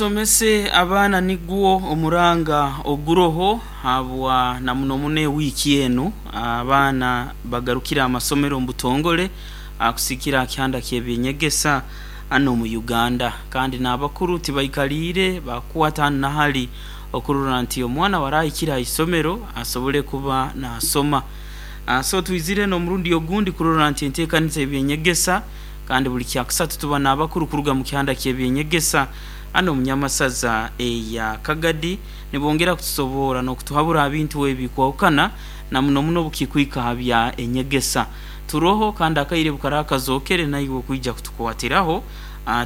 Tusomese abaana nigwo omuranga oguroho habwa na muno muno ewiiki enu abaana bagarukire amasomero omu butongole kusiikira aha kihanda ky'eby'enyegesa hanu omu Uganda. Kandi n'abakuru tibaikaliire baakukwata hanu na hali okurora nti omwana waraahikire aha isomero asobole kuba naasoma. So twizire n'omurundi ogundi kurora nti enteekaniza y'eby'enyegesa kandi buli Kyakusatu tuba n'abakuru kuruga mu kihanda ky'eby'enyegesa hanu omu Nyamasaza eya Kagadi nibongera kutusoboora n'okutuhabura ha bintu ebikwahukana na muno muno obukikwika ha bya enyegesa. Turoho kandi akaire bukaraaba kazookere naiwe okwija kutukwatiraho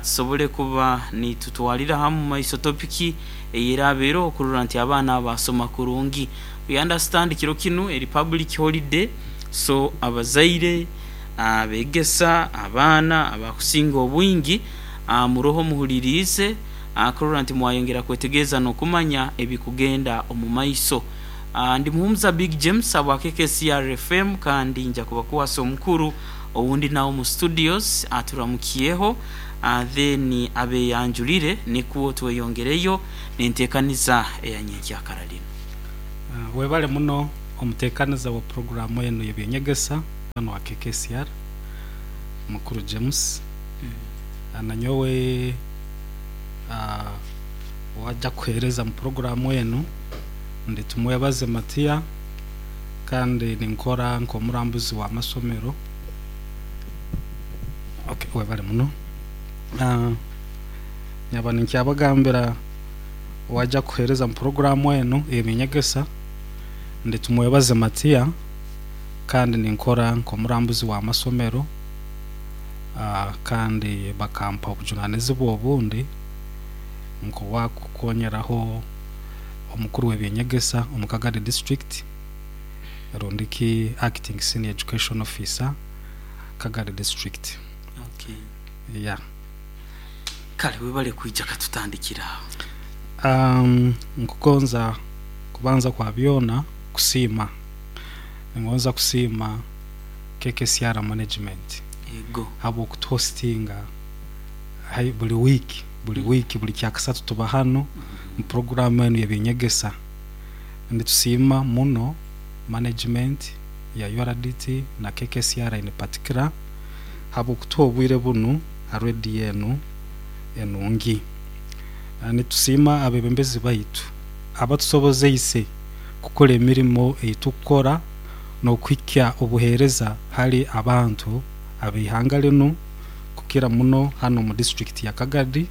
tusobole kuba nitutwalira hamu maiso topiki eyeraaba eroho kurora nti abaana abo baasoma kurungi. We understand kiro kinu eri public holiday so abazaire, abegesa, abaana abakusinga obwingi muroho muhuliriize kurora nti mwayongera kwetegereza n'okumanya ebikugenda omu maiso. Ndi Muhumuza Big James habwa KKCR FM kandi nja kubakwasa omukuru owundi nawe omu studios aturamukyeho then abeyanjulire nikwo tweyongereyo n'entekaniza eya nyenkyakara linu. Webale muno omutekaniza wa puroguramu enu y'eby'enyegesa hanu ha KKCR, Mukuru James. Nanyowe owaija kuheereza mu puroguramu enu ndi Tumwebaze Matia kandi ninkora nk'omurambuzi w'amasomero. Okay, webale muno. Nyaba ninkyabagambira owaija kuheereza mu puroguramu enu ey'eby'enyegesa ndi Tumwebaze Matia kandi ninkora nk'omurambuzi w'amasomero kandi bakampa obujunanizibwa obundi nk'owakukonyeraho omukuru w'eby'enyegesa omu Kagadi District rundi ki Acting Senior Education Officer Kagadi District. Okay. Yeah. Kale webale kwija katutandikire aho. Nkugonza kubanza kwa byona kusiima. Ningonza kusiima KKCR management Ego. habw'okutuhostinga hai buli wiiki, buli wiiki, buli Kyakasatu tuba hanu mu puroguraamu enu y'eby'enyegesa. Nitusiima muno management ya URDT na KKCR in particular habw'okutuha obwire bunu ha rediyo enu enungi. Nitusiima abebembezi baitu abatusobozeise kukora emirimo ei tukukora n'okuhikya obuheereza hali abantu ab'eihanga linu kukira muno hanu omu disiturikiti ya Kagadi.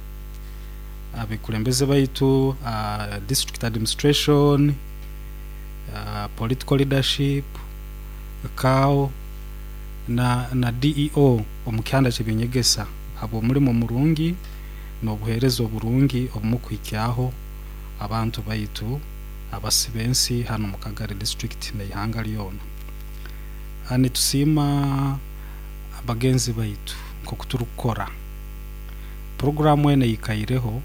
Abekulembeze baitu, district administration, political leadership, CAO na DEO omu kihanda ky'eby'enyegesa habw'omulimo omurungi n'obuheereza oburungi obumukuhikyaho abantu baitu abasi b'ensi hanu omu Kagadi district n'eihanga lyona. Nitusiima bagenzi baitu nk'oku turukukora. Puroguraamu enu eikaireho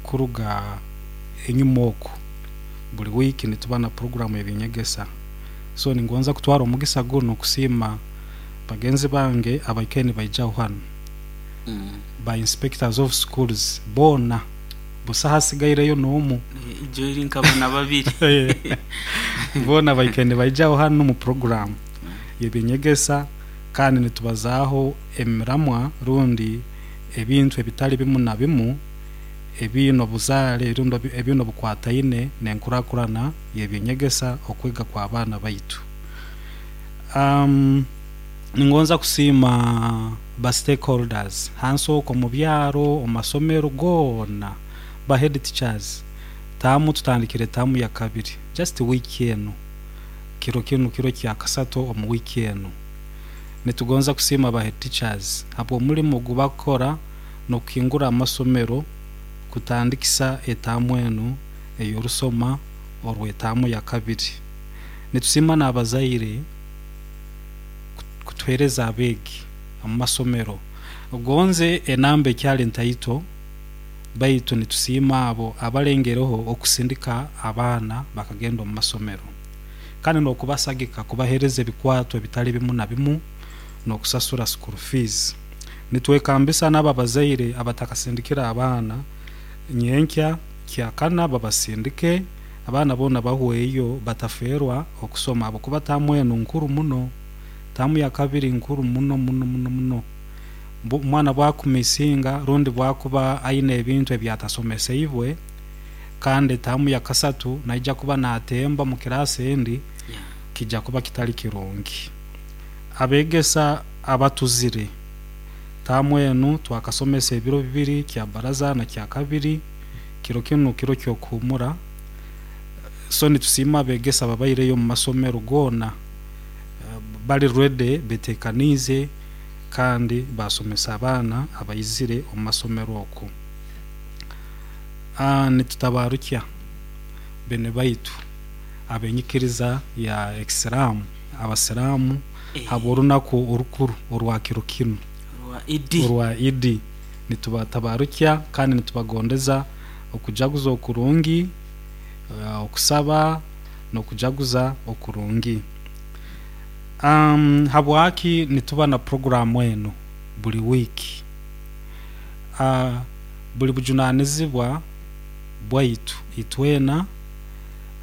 kuruga enyuma oku. Buli wiiki nituba na puroguraamu y'eby'enyegesa. So ningonza kutwara omugisa gunu kusiima bagenzi bange abaikaire nibaijaho hanu, ba inspectors of schools boona, busaho asigaireyo n'omu. Ijo eri nkaba na babiri. Boona baikaire nibaijaho hanu omu puroguraamu y'eby'enyegesa kandi nitubazaaho emiramwa rundi ebintu ebitali bimu na bimu ebiine obuzaale rundi ebiine obukwataine n'enkurakurana y'eby'enyegesa okwega kw'abaana baitu. Ningonza kusiima ba stakeholders hansi okwo omu byaro, omu masomero goona, ba head teachers, taamu tutandikire taamu ya kabiri just wiiki enu, kiro kinu kiro kyakasatu omu wiiki enu. Nitugonza kusiima ba head teachers habw'omulimo ogu bakukora n'okuhingura amasomero kutandikisa etaamu enu ey'orusoma orw'etaamu ya kabiri. Nitusiima n'abazaire kutuheereza abeegi omu masomero. Gonze enamba ekyali ntaito, baitu nitusiima abo abalengereho okusindika abaana bakagenda omu masomero kandi n'okubasagika kubaheereza ebikwato ebitali bimu na bimu n'okusasura school fees. Nitwekambisa n'abo abazaire abatakasindikire abaana nyenkya kyakana babasindike, abaana boona bahweyo batafeerwa okusoma habwokuba taamu enu nkuru muno. Taamu ya kabiri nkuru muno muno muno muno. Omwana bwakumisinga rundi bwakuba aine ebintu ebyatasomeseibwe, kandi taamu ya kasatu naija kuba natemba mu kiraasi endi, kija kuba kitali kirungi. Abegesa abatuzire, taamu enu twakasomesa ebiro bibiri, kya baraza na kya kabiri, kiro kinu kiro ky'okuhumura. So nitusiima abegesa ababaireyo omu masomero goona, bali ready, betekaniize kandi basomesa abaana abaizire omu masomero oku. Nitutabarukya bene baitu ab'enyikiriza ya Ekisiraamu, Abasiraamu, habw'orunaku orukuru orwa kiro kinu Orwa Idi. orwa Idi. Nitubatabarukya kandi nitubagondeza okujaguza okurungi, okusaba n'okujaguza okurungi. Habwaki nituba na puroguraamu enu buli wiiki? Buli bujunanizibwa bwaitu itwena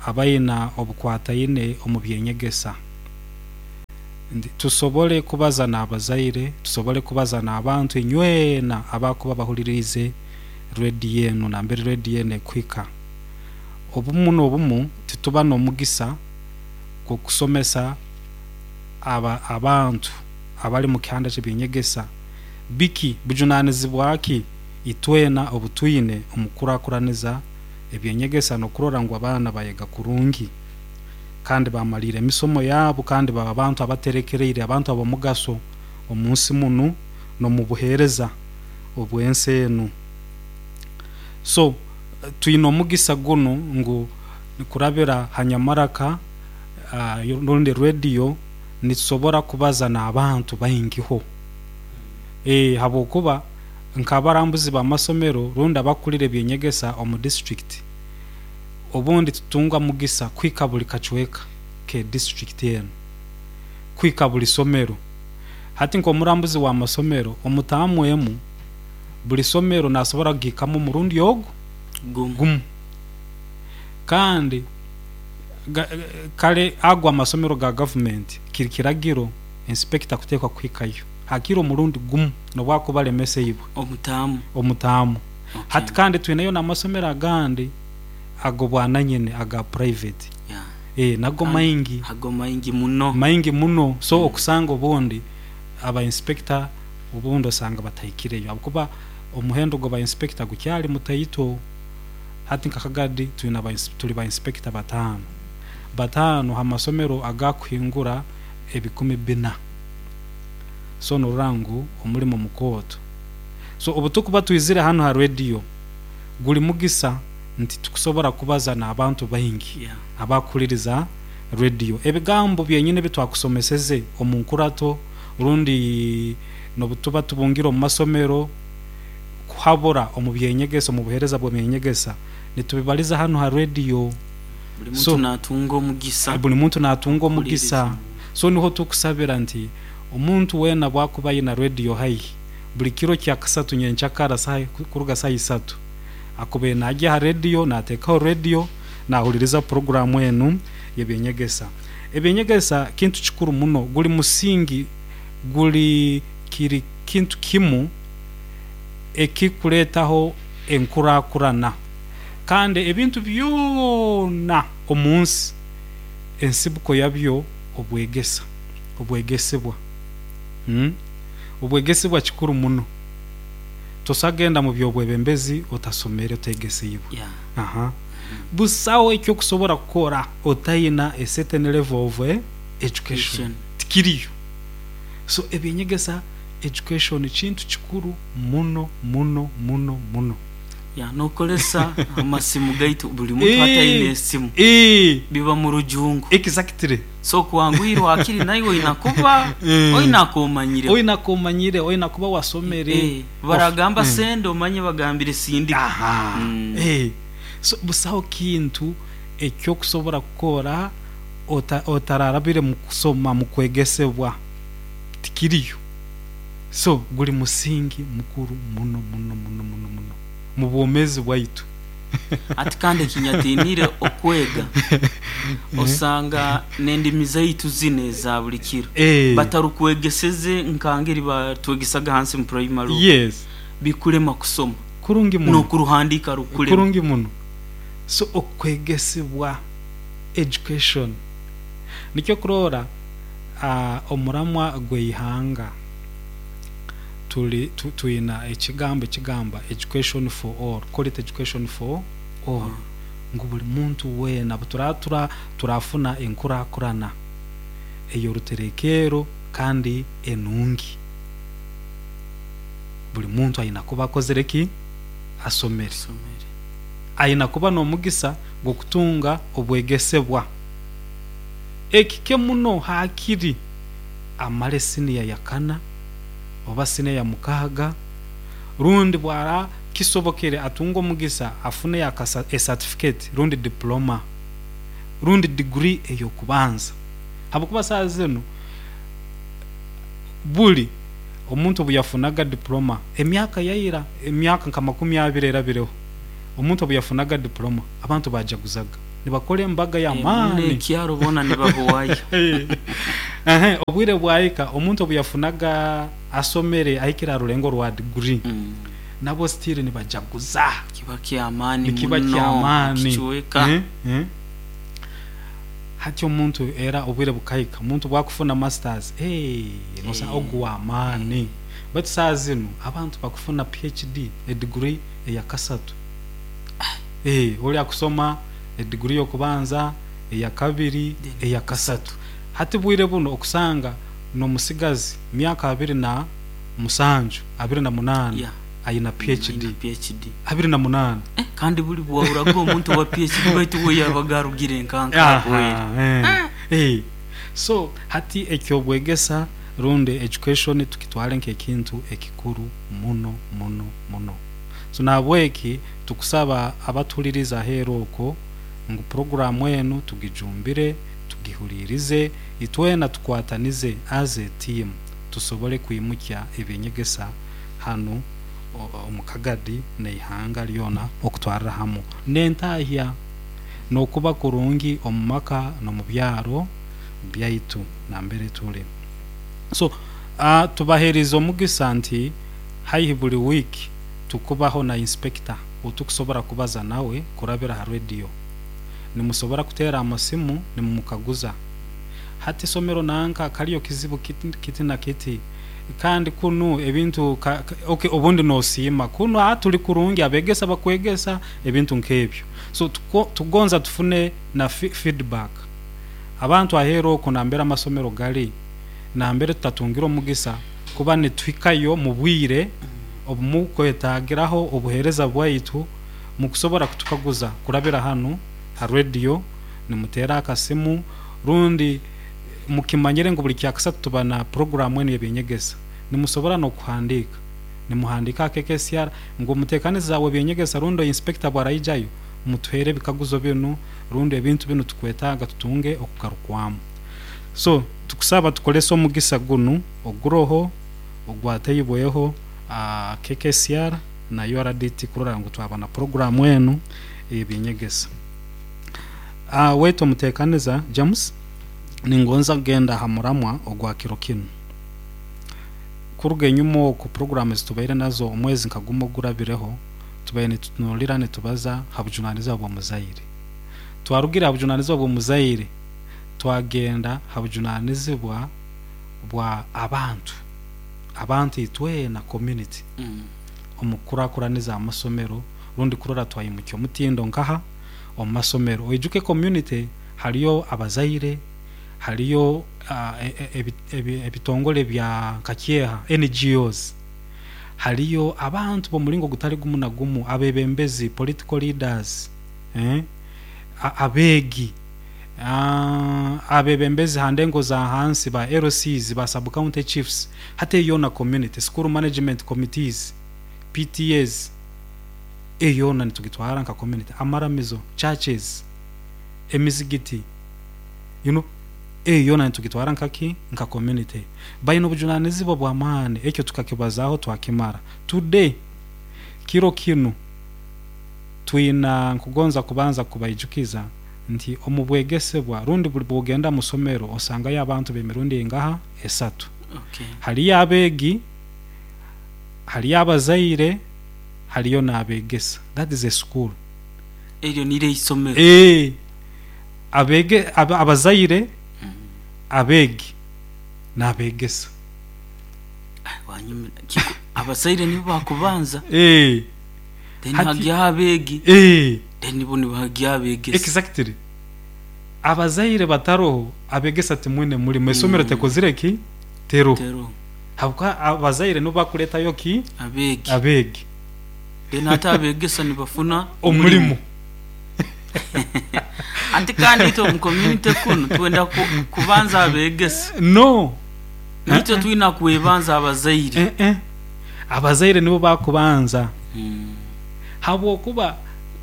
abaina obukwataine omu by'enyegesa nti tusobole kubaza n'abazaire, tusobole kubaza n'abantu inywena abakuba bahuliriize rediyo enu nambere rediyo enu ekuhika. Obumu n'obumu tituba n'omugisa gw'okusomesa abantu abali mu kihanda ky'eby'enyegesa biki, bujunanizibwa ki itwena obu twine omu kukurakuraniza eby'enyegesa n'okurora ngu abaana bayega kurungi kandi bamaliire emisomo yaabu kandi baba bantu abaterekereire, abantu ab'omugaso omu nsi munu n'omu buheereza obw'ensi enu. So twine omugisa gunu ngu kurabira ha nyamaraka rundi rediyo nitusobora kubaza n'abantu baingiho. Habwokuba nk'abarambuzi b'amasomero rundi abakukulira eby'enyegesa omu disiturikiti, obundi tutunga mugisa kuhika buli kacweka ke disiturikiti enu, kuhika buli somero. Hati nk'omurambuzi w'amasomero, omu taamu emu, buli somero nasobora kugihikamu omurundi ogu gumu. Kandi kale ago amasomero ga gavumenti kiri kiragiro inspector kuteekwa kuhikayo hakire omurundi gumu nobwakuba alemeseibwe Omutaamu. omutaamu. Okay. Hati kandi twineyo n'amasomero agandi ag'obwananyini aga private. Yeah. Nago Kandi maingi. Ago maingi muno. Maingi muno. So okusanga obundi aba inspector obundi osanga batahikireyo habwokuba omuhendo gw'aba inspector gukyali mutaito. Hati nka Kagadi twine aba tuli ba inspector bataano. Bataano ha masomero agakuhingura ebikumi bina. So norora ngu omulimo mukooto. So obutukuba twizire hanu ha rediyo, guli mugisa nti tukusobora kubaza n'abantu baingi Yeah. abakuhuliriza rediyo. Ebigambo byenyini ebitwakusomeseze omu nkurato rundi n'obutuba tubungire omu masomero kuhabura omu by'enyegesa, omu buheereza bw'eby'enyegesa, nitubibaliza hanu ha rediyo. Buli muntu So, natunga omugisa. buli muntu natunga omugisa. Kuhuliriza. So niho tukusabira nti omuntu weena bwakuba aina rediyo haihi, buli kiro kya kasatu nyenkyakara kuruga saaha isatu, akubaire naagya ha rediyo, naateekaho rediyo, naahuliriza puroguraamu enu y'eby'enyegesa. Eby'enyegesa kintu kikuru muno, guli musingi, guli kiri kintu kimu ekikuleetaho enkurakurana. Kandi ebintu byona omu nsi, ensibuko yabyo obwegesa, obwegesebwa. Obwegesebwa kikuru muno. Tosobola kugenda mu by'obwebembezi otasomere, otegeseibwe. Yeah. Aha. Busaho eky'okusobora kukora otaina a certain level of education. Education. Tikiriyo. So eby'enyegesa, education kintu kikuru muno muno muno muno. Yeah, nokozesa amasimu gaitu buli muntu hati aine esimu. Biba mu rujungu. Exactly. So kwanguhirwa hakiri naiwe oina kuba oina akomanyire. Oina akomanyire, oina kuba wasomere. Baragamba senda omanye bagambire sindika. Aha. So busaho kintu ekyokusobora kukora otararabire mu kusoma, mu kwegesebwa. Tikiriyo. So guli musingi mukuru muno muno muno muno muno mu bwomeezi bwaitu. Ati kandi ekinyatiinire okwega, osanga n'endimi zaitu zinu eza buli kiro batarukwegeseze nka ngeri batwegesaga hansi mu primary oku. Bikulema kusoma. Kurungi muno. N'okuruhandiika rukulema. Kurungi muno. So okwegesibwa, education, nikyo kurora omuramwa gw'eihanga tuli twina ekigambo ekigamba education for all, quality education for all, ngu buli muntu weena obu turafuna enkurakurana ey'oruterekerro kandi enungi, buli muntu aina kuba akozere ki? Asomere. Aina kuba n'omugisa gw'okutunga obwegesebwa. Ekike muno haakiri amale siniya ya kana oba siniya ya mukaaga, rundi bwara kisobokere atunge omugisa afune a certificate rundi diploma rundi degree ey'okubanza, habwokuba saaha zinu buli omuntu obu yafunaga diploma emyaka ya ira, emyaka nka 20 erabireho, omuntu obu yafunaga diploma abantu baajaguzaga nibakora embaga y'amaani. N'ekyaro boona nibahuwayo. Obwire bwahika omuntu obu yafunaga asomere ahikire ha rulengo rwa degree, nabwo still nibajaguza. Kiba ky'amaani Nikiba muno ky'amaani. kicweka. Hati omuntu era obwire bukahika omuntu bwakufuna masters, nosanga ogu w'amaani. Baitu saaha zinu abantu bakufuna PhD, edegree eyakasatu. Oli akusoma edegree y'okubanza, eyakabiri, eyakasatu. Hati bwire bunu okusanga n'omusigazi myaka 27, 28 aina PhD. Aina PhD. 28. Kandi buli bwahuraga omuntu owa PhD baitu we yabaga arugire nkanka akoire. So hati eky'obwegesa rundi education tukitwale nk'ekintu ekikuru muno muno muno. So nahabweki tukusaba abatuhuliriza aheeru okwo ngu puroguraamu enu tugijumbire, tugihuliirize, itwena tukwatanize as a team tusobole kwimukya eby'enyegesa hanu omu Kagadi n'eihanga lyona okutwarra hamu n'entahya n'okuba kurungi omu maka n'omu byaro byaitu nambere tuli. So tubaheerize omugisa nti haihi buli wiiki tukubaho na inspector outukusobora kubaza nawe kurabira ha radio. Nimusobora kuteera amasimu nimumukaguza, hati isomero nanka kaliyo kizibu kiti na kiti, kandi kunu ebintu okay obundi noosiima kunu tuli kurungi abegesa bakwegesa ebintu nk'ebyo. So tugonza tufune na feedback. Abantu aheeru oku nambere amasomero gali, nambere tutatungire omugisa kuba nituhikayo mu bwire obu mukwetagiraho obuheereza bwaitu, mukusobora kutukaguza kurabira hanu ha radio, nimuteera akasimu, rundi mukimanyire ngu buli kyakasatu tuba na puroguraamu enu y'ebyenyegesa. Nimusobora n'okuhandiika, nimuhandiika ha KKCR ngu omuteekaniza w'ebyenyegesa rundi inspector bwaraijayo, mutuheere ebikaguzo binu rundi ebintu binu tukwetaaga tutunge okugarukwamu. So tukusaba tukolese omugisa gunu oguroho ogwateibweho KKCR na URDT kurora ngu twaba na puroguraamu enu ey'ebyenyegesa. Waitu omuteekaniza James, ningonza kugenda ha muramwa ogwa kiro kinu. Kuruga enyuma oku puroguraamu ezitubaire nazo omwezi nka gumu ogurabireho, tubaire nitutunuulira nitubaza ha bujunaanizibwa bw'omuzaire. Twarugire ha bujunaanizibwa bw'omuzaire twagenda ha bujunaanizibwa bwa abantu, abantu itwena community, omu kukurakuraniza amasomero rundi kurora twaimukya omutindo nkaha omu masomero. Oijuke community haliyo abazaire, haliyo ebitongole bya nka kyeha, NGOs, haliyo abantu b'omulingo gutali gumu na gumu, abebembezi, political leaders, abeegi, abebembezi ha ndengo za hansi ba LCs, ba sub county chiefs, hati eyo yoona community, school management committees, PTAs, eyo yoona nitugitwara nka community, amaramizo, churches, emizigiti, you know. Eyo yoona nitugitwara nkaki? Nka community. Baine obujunanizibwa bw'amaani, ekyo tukakibazaaho twakimara. Today, kiro kinu, twina nkugonza kubanza kubaijukiza nti omu bwegesebwa rundi buli bwogenda mu somero osangayo abantu b'emirundi eingaha? Esatu. Haliyo abeegi, haliyo abazaire, haliyo n'abegesa. That is a school. Eryo niryo eisomero. Eeh, abege, abazaire, abeegi n'abegesa. Wanyumira. Abazaire nibo bakubanza. Eeh. Then Hati hagyaho abeegi, eeh. Then bo nibahagyaho abegesa. Exactly. Abazaire bataroho, abegesa timwine mulimo. Esomero tekozire ki? Teroho. Teroho. Habwokuba abazaire nibo bakuletayo ki? Abeegi. Abeegi. Then ate abegesa nibafuna omulimo. Ati kandi itwe omu community kunu twenda kubanza abegesa. No. Itwe twina kwebanza abazaire. Eh-eh. Abazaire nibo bakubanza. Habwokuba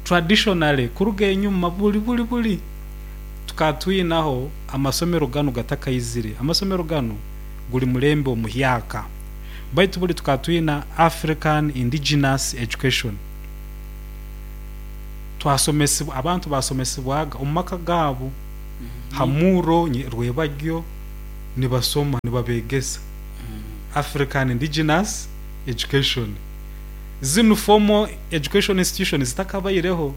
traditionally kuruga enyuma buli buli buli tukaba twinaho amasomero ganu gatakaizire. Amasomero ganu guli mulembe omuhyaka. Baitu buli tukaba twina African indigenous education. Twasomesibwa, abantu basomesibwaga omu maka gaabo ha murro rwebagyo nibasoma nibabegesa. African indigenous education. Zinu formal education institutions zitakabaireho,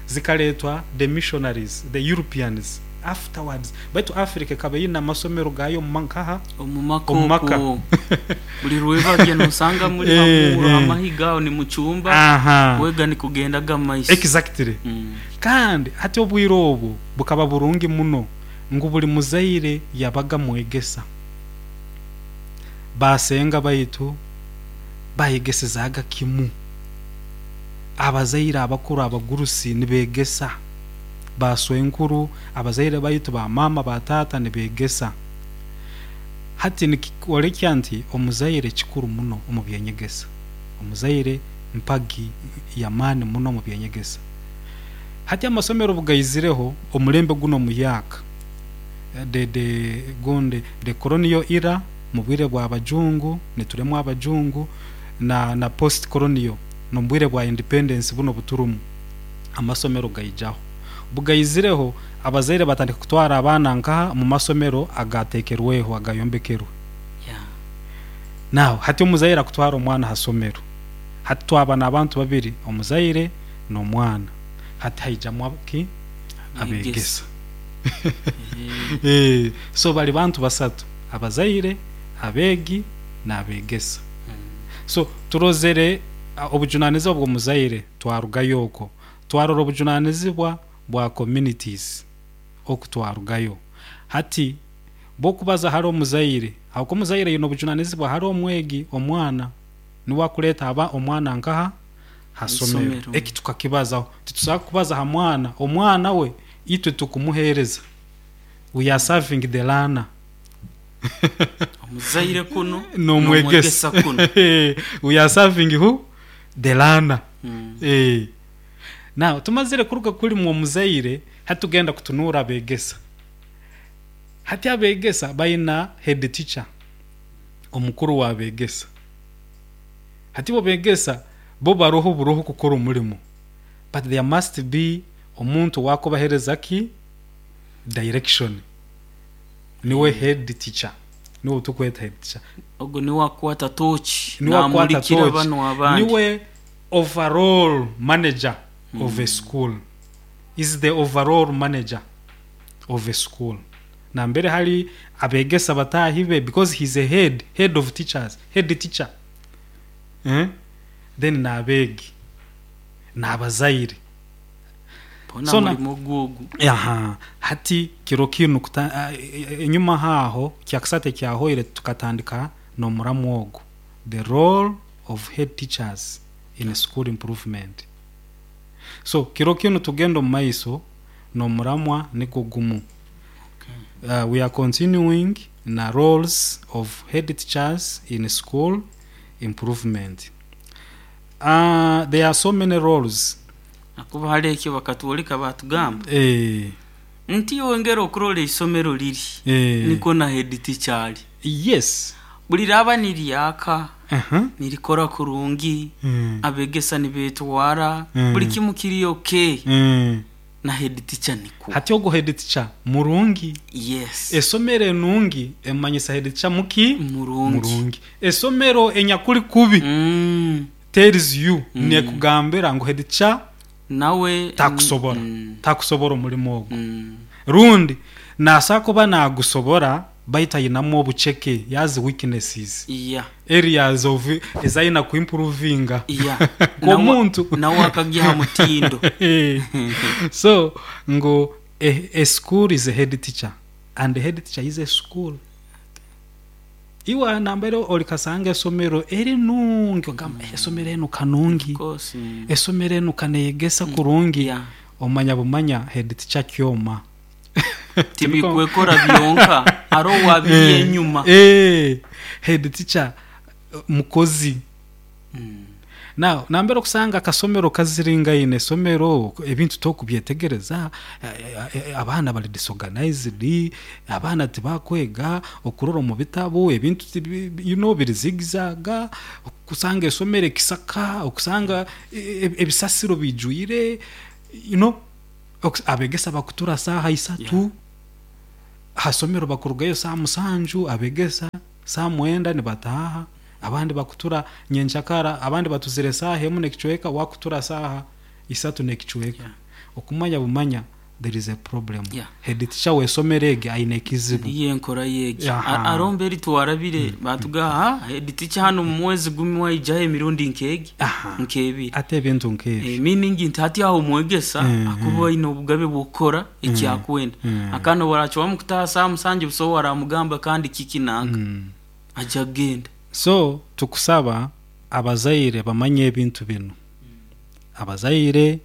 zikareetwa the missionaries, the Europeans afterwards. Baitu Africa ekaba eine amasomero gaayo omu nkaha? Omu maka Omu maka. Okwo. Buli rwebagyo nosanga muri hamuuro hamahiga aho nimucumba, kwega nikugendaga mu maiso. Exactly. Kandi hati obwire obwo bukaba burungi muno ngu buli muzaire yabaga mwegesa. Baasenga baitu bayegesezaaga kimu. Abazaire abakuru abagurusi nibeegesa, baaswenkuru, abazaire baitu, ba maama, ba taata nibeegesa. Hati nikikwolekya nti omuzaire kikuru muno omu by'enyegesa. Omuzaire mpagi y'amaani muno omu by'enyegesa. Hati amasomero obu gaizireho, omulembe gunu omuhyaka, the, the, gundi, the colonial era, mu bwire bwa bajungu, nituremwa abajungu, na na post colonial, n'omu bwire bwa independence bunu obuturumu, amasomero gaijaho. Bugaizireho, abazaire batandika kutwara abaana nkaha? Omu masomero agateekerweho, agayombekerwe. Now, hati omuzaire akutwara omwana ha somero. Hati twaba n'abantu babiri, omuzaire n'omwana. Hati haijamu ki? Abeegesa. So bari bantu basatu, abazaire, abeegi, n'abeegesa. So turozere obujunanizibwa bw'omuzaire twarugayo okwo. Twarora obujunanizibwa bwa communities oku twarugayo. Hati bw'okubaza hali omuzaire, habwokuba omuzaire aine obujunanizibwa hali omwegi, omwana, niwe akureeta aba omwana nkaha? Ha somero. Eki tukakibazaho. Titusobora kubaza ha mwana, omwana we itwe tukumuhereza. We are serving the learner. Omuzaire kunu n'omwegesa kunu. We are serving who? The learner. Now tumazire kuruga kuri mwe omuzaire, hati tugenda kutunuura abegesa. Hati abegesa baina head teacher, omukuru w'abegesa. Hati bo begesa bo baroho buroho kukora omurimo, but there must be omuntu owakubahereza ki? Direction. Niwe head teacher, niwe outukweta head teacher. Ogu niwe akwata tooki Niwe akwata naamurikira tooki, banu abandi. Niwe overall manager of a school. Is the overall manager of a school. Nambere hali abegesa bataahi be because he's a head, head of teachers, head teacher. Eh? Then n'abeegi, n'abazaire. Boona So na murimo gwogu. Aha, hati kiro kinu kuta, enyuma haaho kyakasatu ekyahoire tukatandika n'omuramwa ogu, the role of head teachers in school improvement. So kiro kinu tugenda omu maiso n'omuramwa nigwo gumu. We are continuing na roles of head teachers in school improvement. There are so many roles. Ahakuba hali ekyo bakatwoleka baatugamba. Nti wongera okurora isomero liri nikwo na head teacher ali. Buli raba niryaka, nirikora kurungi, abegesa nibetwara, buli kimu kiri okay, na head teacher nikwo. Hati ogu head teacher murungi. Esomero enungi emanyisa head teacher muki? Murungi. Murungi. Esomero enyakuli kubi tells you, nekugambira ngu head teacher nawe takusobora, takusobora omulimo ogu. Rundi nasobola kuba nagusobora baitu ayinamu obuceke, he has weaknesses, areas of ezayina kuimprovinga nk'omuntu. Nawe akagiha mutindo. So ngu a school is a head teacher and the head teacher is a school. Iwe nambere olikasanga esomero erinungi ogamba, "Esomero enu kanungi, esomero enu kaneyegesa kurungi," omanya bumanya head teacher kyoma. Tibikwekora byonka, haroho wabiri enyuma. Head teacher mukozi. Now nambere okusanga akasomero kaziringaine, esomero ebintu tokubyetegereza, abaana bali disorganized, abaana tibakwega, okurora omu bitabu ebintu biri zigzag, okusanga esomero ekisaka, okusanga ebisasiro bijwire, abegesa bakutura saaha 3, hasomero bakurugayo saaha 7, abegesa saaha 9 nibataaha, abandi bakutura nyenkyakara, abandi batuzire saaha emu n'ekicweka, wakutura saaha 3 n'ekicweka. Okumanya bumanya there is a problem. Head teacher w'esomero egi aine ekizibu. Niyo enkora yegi. Arombe eri twarabire batugaha head teacher hano mu mwezi gumwe waijaho emirundi nk'egi, nk'ebiri. Ate ebintu nk'ebi. Meaning nti hati aho omwegesa akuba aine obugabe bw'okukora ekyakwenda. Akana waracwamu kutaha saaha 7, buso waramugamba kandi kiki nanka, ajja kugenda. So tukusaba abazaire bamanye ebintu binu, abazaire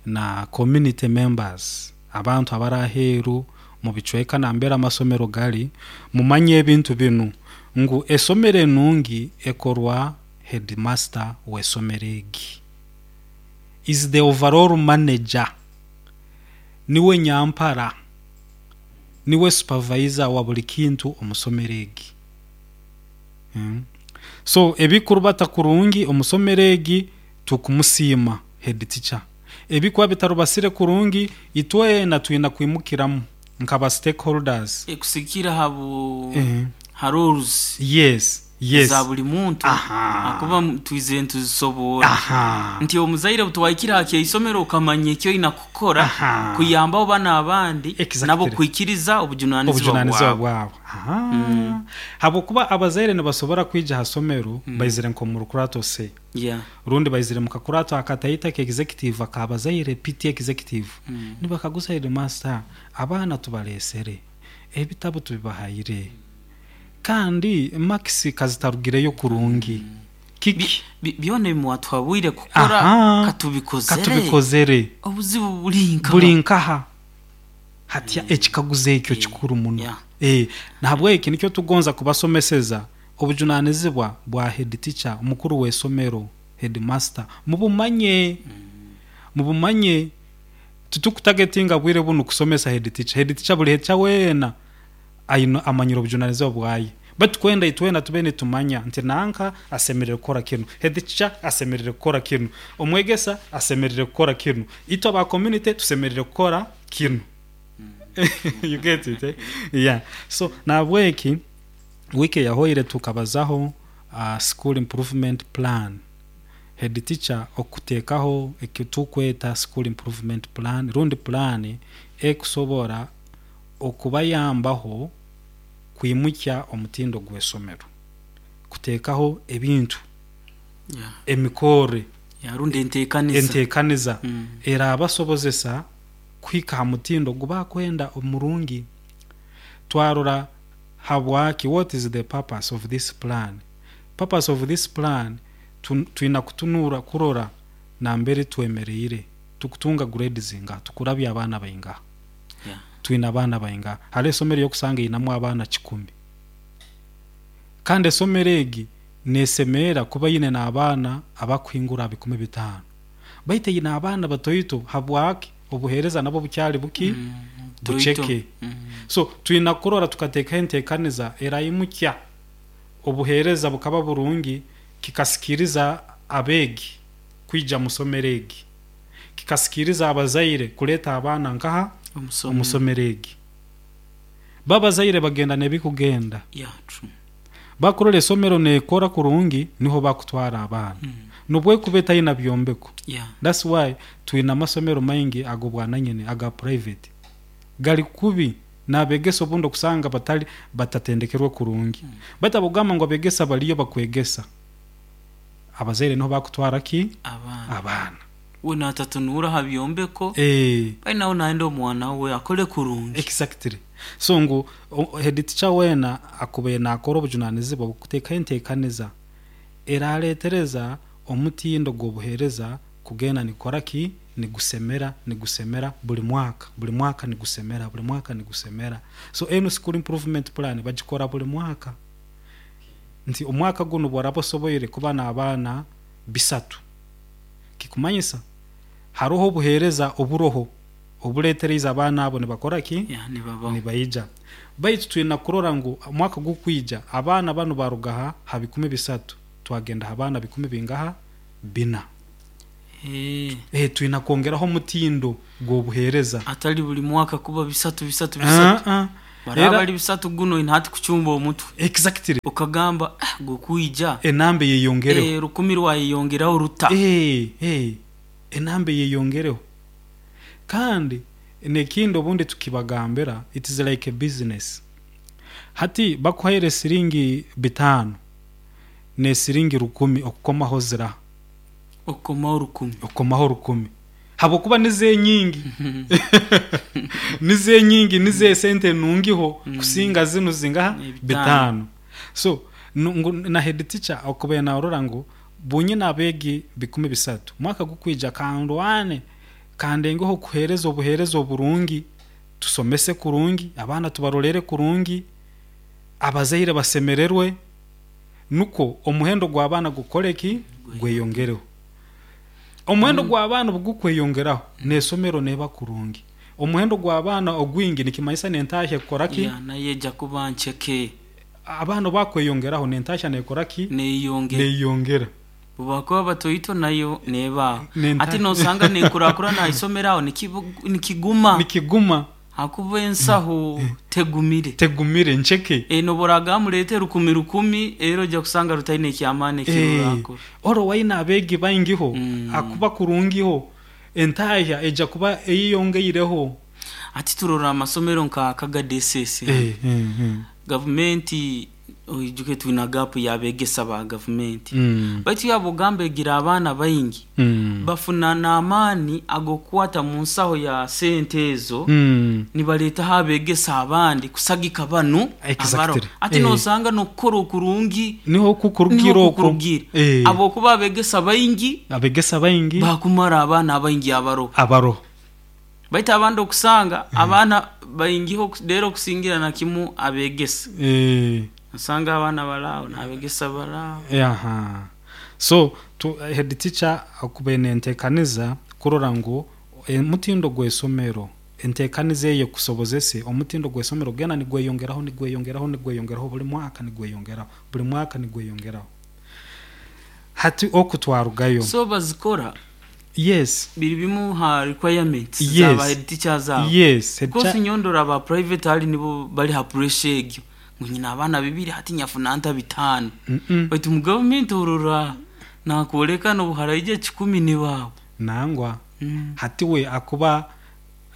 na community members, abantu abari aheeru mu bicweka nambere amasomero gari, mumanye ebintu binu ngu esomero enungi ekorwa headmaster w'esomero egi, is the overall manager, niwe nyampara, niwe supervisor wa buli kintu omu somero egi. So ebikurubata kurungi omu somero egi tukumusiima head teacher, ebikuba bitarubasire kurungi itwena twina kwimukiramu nkaba stakeholders. Ekusikira habu ha roles za buli muntu, akuba twizire nituzisoboora nti omuzaire butwahikire aha kyeisomero okamanya eki oina kukora kuyambaho bana abandi nabo kwikiriza obujunanizibwa obujunanizibwa bwabo. Bwabo. Habwokuba abazaire nibasobora kwija ha somero baizire nk'omu rukurato se, rundi baizire mu kakurato akataito ka executive akabazaire, PT executive, nibakaguza headmaster, abaana tubalesere, ebitabo tubibahaire, kandi marks kazitarugireyo kurungi, kiki? Byona ebimwatuhabwire kukora katubikozere. Katubikozere. Obuzibu buri nkaha? Buri nkaha? Hatya ekikaguzo ekyo kikuru muno. Nahabweki nikyo tugonza kubasomeseza obujunanizibwa bwa head teacher, omukuru w'esomero, headmaster, mubumanye, mubumanye. Titukutagetinga bwire bunu kusomesa head teacher. Head teacher, buli head teacher weena aine amanyire obujunanizibwa bwaye, baitu kwenda itwena tube nitumanya nti nanka asemerere kukora kinu, head teacher asemerere kukora kinu, omwegesa asemerere kukora kinu, itwe aba community tusemerere kukora kinu. You get it, eh? Yeah. So nahabweki wiiki eyahoire tukabazaho school improvement plan, head teacher okuteekaho ekitukweta school improvement plan, rundi plan ekusobora okubayambaho kwimukya omutindo gw'esomero, kuteekaho ebintu, emikorre, rundi enteekaniza, enteekaniza erabasobozesa kuhika ha mutindo gubakwenda omurungi. Twarora habwaki, what is the purpose of this plan. Purpose of this plan, twina kutunura kurora nambere twemereire, tukutunga grades zingaha, tukurabya abaana baingaha, twina abaana baingaha. Hariho esomero yokusanga inamu abaana 100, kandi esomero egi nesemeera kuba ine n'abaana abakuhingura 500, baitu eine abaana batoito. Habwaki? Obuheereza nabwo bukyali buki. Toito. Buceke. So twina kurora tukateekaho enteekaniza eraimukya obuheereza bukaba burungi, kikasikiriza abeegi kwija musomero egi, kikasikiriza abazaire kuleeta abaana nkaha omusomero omusomero egi. Babazaire bagenda n'ebikugenda, Yeah, true. bakurora esomero neekora kurungi, niho bakutwara abaana nobwekuba etayina byombeko. That's why twina amasomero maingi ag'obwananyini aga private gali kubi, n'abegesa obundi okusanga batali batatendekerwe kurungi. Baitu abokugamba ngu abegesa baliyo bakwegesa, abazaire niho bakutwara ki? Abaana. Abaana. We natatunuura ha byombeko, bali nawe nayenda omwana we akole kurungi. Exactly. So ngu head teacher weena akubaire nakora obujunanizibwa bw'okuteekaho enteekaniza eraaleetereza omutindo gw'obuheereza kugenda nigukora ki? Nigusemera, nigusemera buli mwaka, buli mwaka nigusemera, buli mwaka nigusemera. So enu school improvement plan bagikora buli mwaka. Nti omwaka gunu bworaba osoboire kuba n'abaana 300, kikumanyisa haroho obuheereza oburoho obuleetereize abaana abo nibakora ki? Yeah, nibabaho. Nibaija. Baitu twina kurora ngu omwaka gukwija abaana banu baruga ha 300 twagenda ha baana bikumi bingaha? 4. Twina kwongeraho omutindo gw'obuheereza. Atali buli mwaka kuba 3 3 3. Baraba bali 3 guno oine hati kucumba omutwe. Exactly. Okagamba gukwija enamba eyeyongereho. 1000 rwayeyongeraho ruta. Enamba eyeyongereho. Kandi n'ekindi obundi tukibagambira, it is like a business. Hati bakuhaire siringi 5 n'esiringi 1000, okukomaho ziraha? Okukomaho 1000. Okukomaho 1000. Habwokuba nizo enyingi, nizo enyingi, nizo esente enungiho kusinga zinu zingaha? 5. 5. So ngu na head teacher okubaire narora ngu bunyine abeegi 300, mwaka gukwija kandwane kandengeho kuheereza obuheereza oburungi, tusomese kurungi, abaana tubarolere kurungi, abazaire basemererwe, nukwo omuhendo gw'abaana gukore ki? Gweyongereho. Omuhendo gw'abaana obu gukweyongeraho, n'esomero neeba kurungi. Omuhendo gw'abaana ogwingi nikimanyisa n'entahya ekukora ki? Yeah, nayo eja kuba nceke. Abaana obu bakweyongeraho n'entahya neekora ki? Neyeyongera. Neyeyongera. Obu bakuba batoito nayo neeba aho. Nenta Hati nosanga nenkurakurana aha isomero aho nikiguma. Nikiguma. Hakuba ensaho tegumire. Tegumire, nceke. Nobu oragamba mureete 1000 1000, era oija kusanga rutaine eky'amaani eki rurakora. Oro waine abeegi baingiho, akuba kurungiho, entahya eija kuba eyeyongeireho. Hati turora amasomero nka Kagadi SS hanu. Gavumenti oijuke twina gap y'abegesa ba gavumenti. Baitu yaaba ogamba egira abaana baingi, bafuna n'amaani ag'okukwata mu nsaho ya sente ezo nibareetaho abegesa abandi kusagika banu abaroho. Hati nosanga n'okukora okurungi Niho kukurugira niho okwo. kukurugira. Habwokuba abegesa baingi Abegesa baingi bakumara abaana abaingi abaroho. Abaroho. Baitu abandi okusanga abaana baingiho reero okusingira na kimu abegesa. Osanga abaana bari aho n'abegesa bari aho. Aha. So head teacher okubaire nentekaniza kurora ngu omutindo gw'esomero, entekaniza eyo ekusobozese omutindo gw'esomero kugenda nigweyongeraho, nigweyongeraho, nigweyongeraho buli mwaka nigweyongeraho, buli mwaka nigweyongeraho. Hati oku twarugayo. So bazikora Yes. biri bimu ha requirements za ba head teachers abo. Yes. Head Because nyowe ndora aba private hali nibo bari ha pressure egyo ngu nyine abaana 2 hati nyafuna nta 5. Baitu mu government orora nakworeka nobu haraija 10 nibaabo. Nangwa. Hati we akuba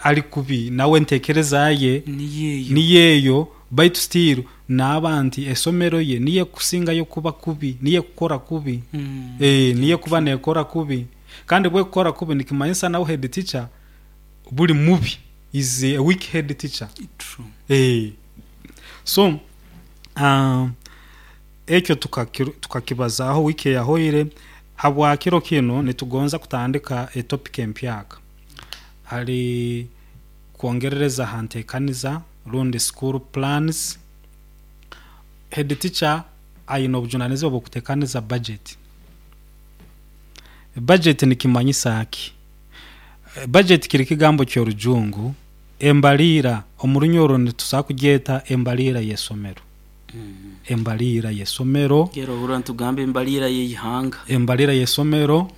ali kubi nawe entekereza ye Niyo eyo. Niyo eyo, baitu still naaba nti esomero ye niyo ekusingayo kuba kubi, niyo ekukora kubi. Niyo ekuba nekora kubi. Kandi bwekukora kubi nikimanyisa nawe head teacher buli mubi, is a weak head teacher. True. So ekyo tukakibazaaho wiiki eyahoire. Habwa kiro kinu nitugonza kutandika etopic empyaka hali kwongerereza ha ntekaniza rundi school plans. Head teacher aine obujunanizibwa bw'okutekaniza budget. Budget nikimanyisa ki? Budget kiri kigambo ky'orujungu. Embaliira omu Runyoro nitusobora kugyeta embaliira y'esomero. Embaliira y'esomero. Gera ohurra nitugamba embaliira y'eihanga. Embaliira y'esomero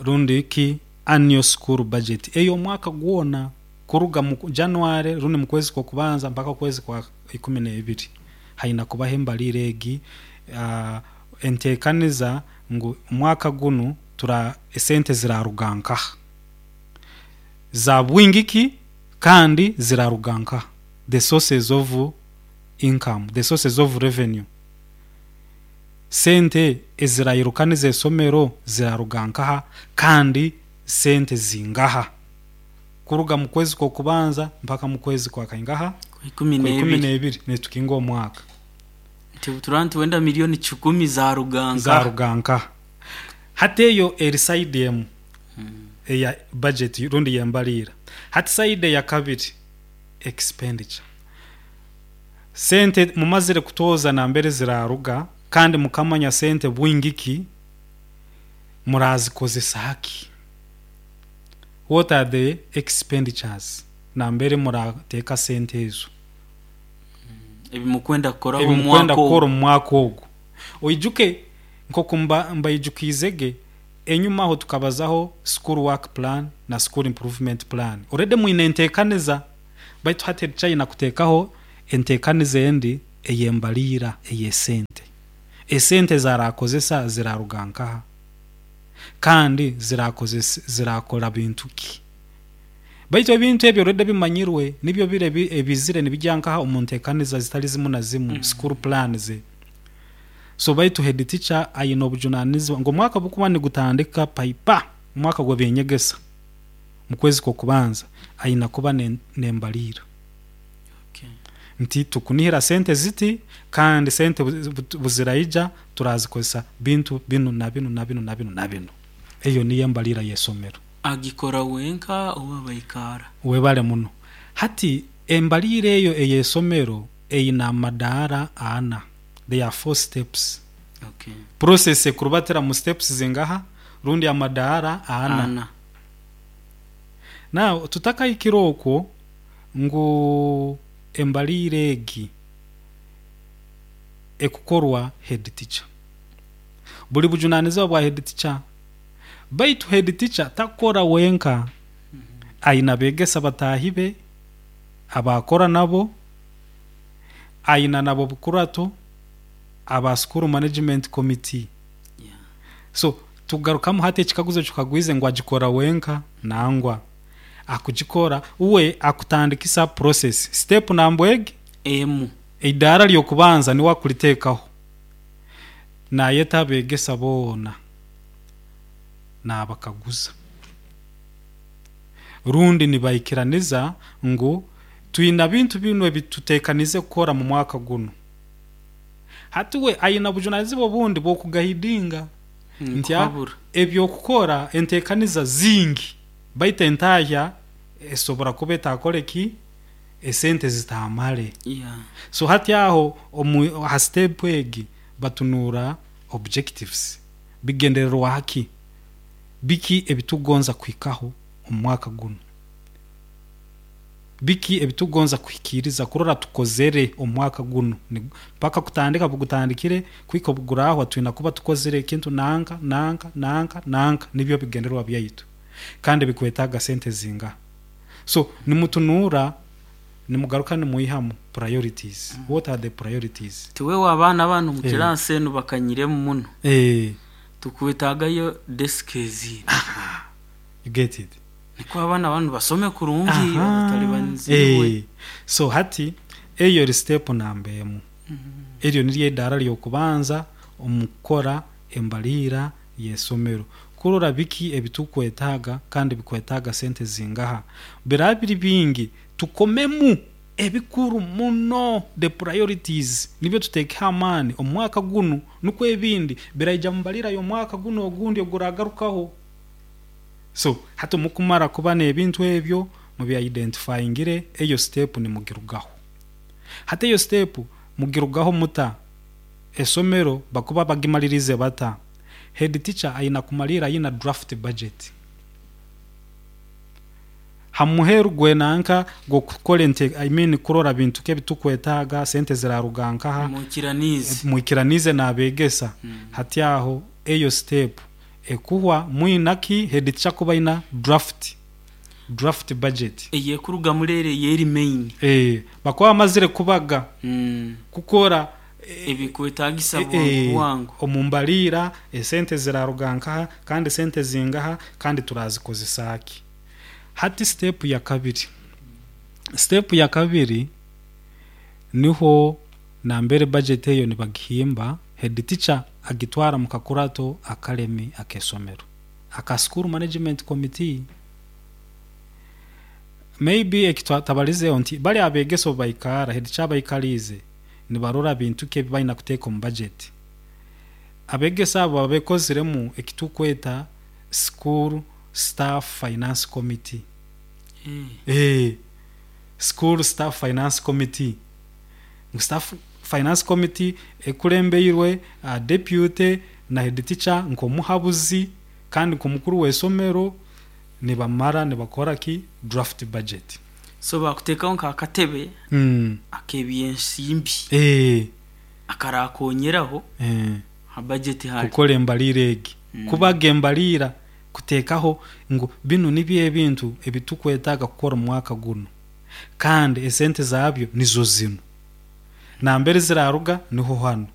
rundi ki annual school budget ey'omwaka gwona kuruga mu January rundi mu kwezi kw'okubanza mpaka okwezi kwa ikumi n'ebiri haina kubaho embaliira egi enteekaniza ngu omwaka gunu tura esente ziraruga nkaha, za bwingi ki kandi ziraruga nkaha, the sources of income, the sources of revenue. Sente ezirairukaniza esomero ziraruga nkaha kandi sente zingaha kuruga mu kwezi kw'okubanza mpaka mu kwezi kwa kaingaha? Kwa ikumi Kwa ikumi n'ebiri. n'ebiri nitukinga omwaka. Nti obu turaba nitwenda 1,000,000 zaruga nkaha? Zaruga nkaha? Hati eyo eri side emu eya budget rundi y'embaliira. Hati side eya kabiri expenditure. Sente mumazire kutooza nambere ziraruga kandi mukamanya sente bwingi ki, murazikozesa ki? What are the expenditures nambere murateeka sente ezo? Ebimukwenda kukoraho omu Ebimukwenda mwaka kukora ogu. omu mwaka ogu. Oijuke nk'oku mbaijukiizege enyuma aho tukabazaho school work plan na school improvement plan. Already mwine enteekaniza baitu hati ekikyayina kuteekaho enteekaniza endi ey'embaliira ey'esente. Esente ezarakozesa ziraruga nkaha? Kandi zirakora bintu ki? Baitu ebintu ebyo already bimanyirwe nibyo biri ebizire nibijya nkaha omu nteekaniza zitali zimu na zimu school plans. So baitu head teacher aine obujunanizibwa ngu omwaka obukuba nigutandika paipa omwaka gw'ebyenyegesa mu kwezi kw'okubanza aina kuba n'embaliira. Nti tukunihira sente ziti kandi sente buziraija turazikozesa bintu binu na binu na binu na binu na binu. Eyo niyo embaliira y'esomero. Agikora wenka oba baikara? Webale muno. Hati embaliira eyo ey'esomero eine amadaara ana. There are 4 steps. Process ekurubatira mu steps zingaha rundi amadaara ana. Ana. Now tutakahikire okwo ngu embaliira egi ekukorwa head teacher. Buli bujunanizibwa bwa head teacher. Baitu head teacher takukora wenka, aine abeegesa bataahi be abaakora nabo, aina nabo bukurato aba school management committee. So tugarukamu hati ekikaguzo ekikagwize ngu agikora wenka nangwa akugikora uwe akutandikisa process. Step namba egi emu eidaara ly'okubanza niwe akuliteekaho. Naayeta abeegesa boona naabakaguza. Rundi nibaikiraniza ngu twina bintu binu ebituteekanize kukora mu mwaka gunu. Hati we aina obujunanizibwa obundi bw'okugaidinga nti Nkuhabura. eby'okukora enteekaniza zingi baitu entahya esobora kuba etakore ki? Esente zitamale. So hati aho omu ha step egi batunuura objectives. Bigendererwa ki? Biki ebitugonza kuhikaho omu mwaka gunu? Biki ebitugonza kuhikiiriza kurora tukozere omu mwaka gunu? Mpaka kutandika bugutandikire kuhika obugurahwa twina kuba tukozere ekintu nanka nanka nanka nanka nibyo bigendererwa byaitu. Kandi bikwetaaga sente zingaha? So nimutunuura nimugaruka nimwihamu priorities. What are the priorities? Tiwewe abaana banu omu kilaasi enu bakanyiremu muno. Tukwetaagayo desk ezindi. You get it? Nikwo abaana banu basome kurungi batalibanizibwe. So hati eyo eri step namba emu. Eryo niryo eidaara ly'okubanza omu kukora embaliira y'esomero. Kurora biki ebitukwetaaga kandi bikwetaaga sente zingaha. Biraba biri bingi tukomemu ebikuru muno the priorities nibyo tuteekeho amaani omu mwaka gunu nukwo ebindi biraija mu mbaliira y'omwaka gunu ogundi oguragarukaho. So hati mukumara kuba n'ebintu ebyo mubya-identifyingire eyo step nimugirugaho. Hati eyo step mugirugaho muta? Esomero bakuba bagimaliriize bata? Head teacher aina kumaliira aina draft budget. Hamuheru gwenanka gwokukora ente, I mean, kurora bintu ki ebitukwetaaga, sente ziraruga nkaha. Mwikiraniize. Mwikiraniize n'abeegesa. Hati aho eyo step ekuhwa mwina ki head teacher kuba aina draft budget. Eyekurugamu reero eyeri main. Bakuba bamazire kubaga kukora ebikwetagisa bwangu bwangu. Omu mbaliira esente ziraruga nkaha kandi sente zingaha kandi turazikozesa ki. Hati step ya kabiri, step ya kabiri niho nambere budget eyo nibagihimba, head teacher agitwara mu kakurato akalemi ak'esomero aka school management committee. Maybe ekitwatabalizeho nti bali abeegesa obu baikara, head teacher abaikaliize nibarora bintu ki ebi balina kuteeka omu budget. Abeegesa abo baba bekoziremu ekitukweta school staff finance committee. School staff finance committee. Ngu staff finance committee ekulembeirwe deputy na head teacher nk'omuhabuzi kandi nk'omukuru w'esomero, nibamara nibakora ki draft budget. So bakuteekaho nk'akatebe ak'ebyensimbi akarakonyeraho ha budget hali. Kukora embaliira egi. Kubaga embaliira, kuteekaho ngu binu nibyo ebintu ebitukwetaaga kukora omu mwaka gunu kandi esente zaabyo nizo zinu. Nambere ziraruga niho hanu.